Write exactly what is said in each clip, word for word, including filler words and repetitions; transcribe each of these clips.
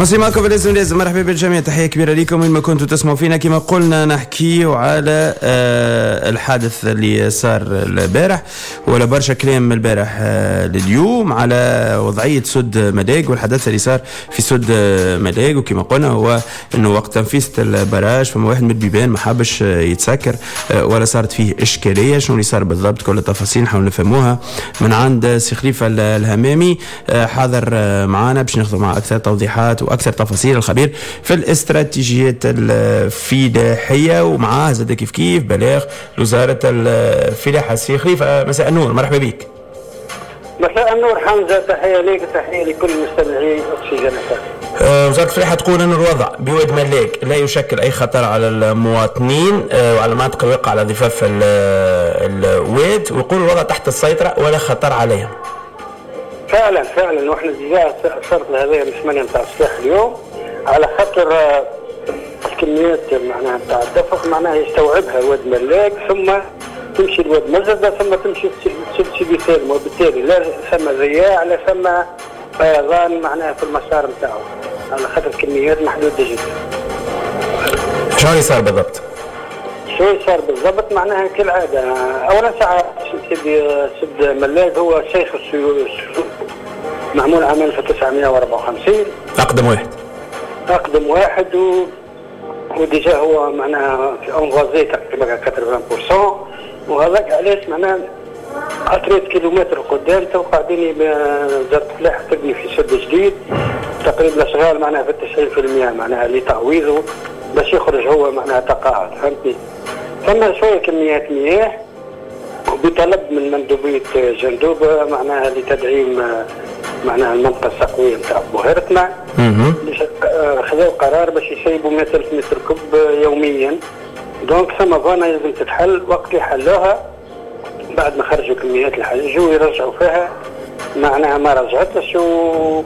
مواصلين معكم لازم لازم. مرحبا بالجميع، تحية كبيرة لكم وين ما كنتوا تسمعوا فينا. كما قلنا نحكيو على آه، الحادث اللي صار البارح، ولا برشا كلام من البارح آه، لليوم على وضعية سد ملاق والحدث اللي صار في سد ملاق. وكما قلنا هو انه وقت تنفيذ ال barrage فما واحد من البيبان ما حبش يتسكر آه، ولا صارت فيه اشكاليه. شنو اللي صار بالضبط؟ كل التفاصيل نحاول نفهموها من عند سي خليفة الهمامي، حاضر معنا باش ناخذ معه اكثر توضيحات واكثر تفاصيل، الخبير في الاستراتيجيات الفلاحيه، ومعاه زاد كيف كيف بلاغ وزارة الفلاحه. سي خليفه، مساء النور، مرحبا بك. مساء النور حمزه، تحية لك، تحية لكل مستمعي اكسجين. أه، وزارة الفلاحة تقول أن الوضع بواد ملاك لا يشكل أي خطر على المواطنين أه، وعلى المناطق الواقعة على ضفاف الواد، ويقول الوضع تحت السيطرة ولا خطر عليهم. فعلا فعلا، واحنا déjà صارت هذايا من ثمانية نتاع الصباح اليوم، على خاطر آه، الكميات معناها نتاع الدفق معناها يستوعبها واد ملاك، ثم تمشي لواد مزرده، ثم تمشي لسد سيدي سالم، وبالتالي لا ثم ضياع لا ثم فيضان معناها في المسار نتاعو، على خاطر كميات محدودة جدا. شنو اللي صار بالضبط؟ شو صار بالضبط؟ معناها كالعاده، اولا ساعة سيدي سد ملاك هو شيخ السيول، معمول عام ألف وتسعمية وأربعة وخمسين. اقدم واحد. اقدم واحد، و و déjà هو معناها في envasé تقريبا ثمانين بالمية، وهذاك علاش معناها ثلاثة كيلومتر قدام تو قاعدين وزارة الفلاحة تبني في سد جديد، تقريبا الاشغال معناها في تسعين بالمية معناها لتعويضه باش يخرج هو معناها تقاعد، فهمتني؟ ثم شوية كميات مياه بطلب من مندوبيه جندوبه معناها لتدعيم معناها المنطقة السقويه نتاع بوهرتنا، خذوا قرار باش يسيبوا مية ألف mètre cube يوميا. donc ثم vanne لازم تتحل. وقت اللي حلوها بعد ما خرجوا كميات الحاجة جو يرجعوا فيها، معناها ما رجعتش و...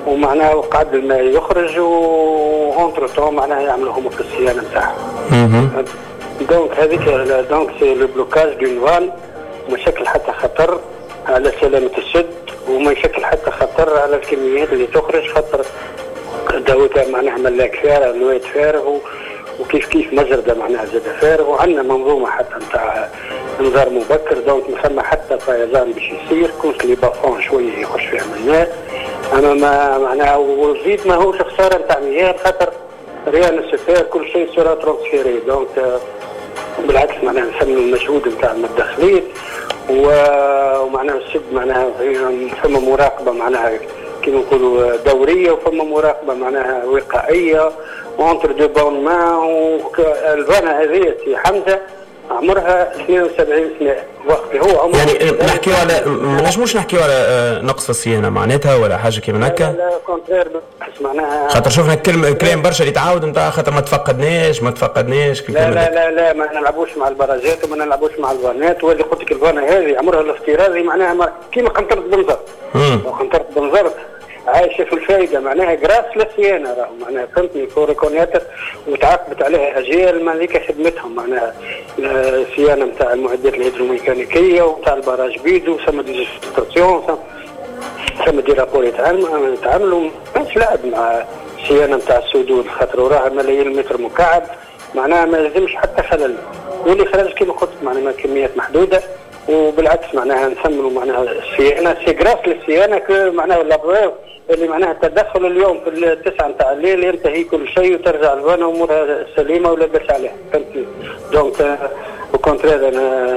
ومعناها وقعد الماء يخرج، و entre-temps معناها يعملوا هما في الصيانة نتاعهم. donc هذيك donc c'est le blocage d'une vanne، ما يشكل حتى خطر على سلامة السد وما يشكل حتى خطر على الكميات اللي تخرج، خاطر دوت معناها ملاك فارغ، الواد فارغ، وكيف كيف مزرده معناها زاد فارغ، وعندنا منظومة حتى نتاع انذار مبكر. donc ما ثم حتى فيضان باش يصير، كونت les bas-fonds شوية يخش فيها الماء، اما ما معناها وزيد ما هوش خسارة نتاع مياه، خاطر rien ne se perd، كل شيء sera transféré. donc بالعكس معناها نسمي المجهود نتاع المتدخلين، ومعناها السد معناها ثم مراقبة معناها كيما نقولوا دوريه، وفما مراقبة معناها وقائيه entre de bonnes mains. ال vanne هذه سي حمزة عمرها اثنين وسبعين سنه، وقت هو عمره يعني نحكيو على ما نجموش نحكيو على آه، نقص في الصيانة معناتها ولا حاجة كيما هكا؟ لا contraire معناها. خاطر شفنا كلمة كلام برشا اللي تعاود نتاع خاطر ما تفقدناش ما تفقدناش. لا لا لا لا، ما نلعبوش مع البراجات وما نلعبوش مع الفانات. واللي قلت لك ال vanne هذه عمرها الافتراضي معناها كيما قنطرة بنزرت، قنطرة بنزرت عايشه في الفايده، معناها grâce للصيانه راهو معناها، فهمتني؟ faut reconnaître وتعاقبت عليها اجيال ما ذيك خدمتهم، معناها الصيانة نتاع المعدات الهيدروميكانيكيه وتاع ال barrage بيدو. ثم des stations، ثم des rapports يتعاملوا، مش لعب مع الصيانة نتاع السدود، خاطر وراها ملايين المتر مكعب، معناها ما لازمش حتى خلل. واللي خرج كما قلت معناها كميات محدوده، وبالعكس معناها نثمنوا معناها الصيانه، c'est grâce للصيانه معناها la preuve اللي معناها التدخل اليوم في التسعة نتاع الليل ينتهي كل شيء وترجع ال vanne امورها سليمة ولا باس عليها، فهمتني؟ donc au contraire انا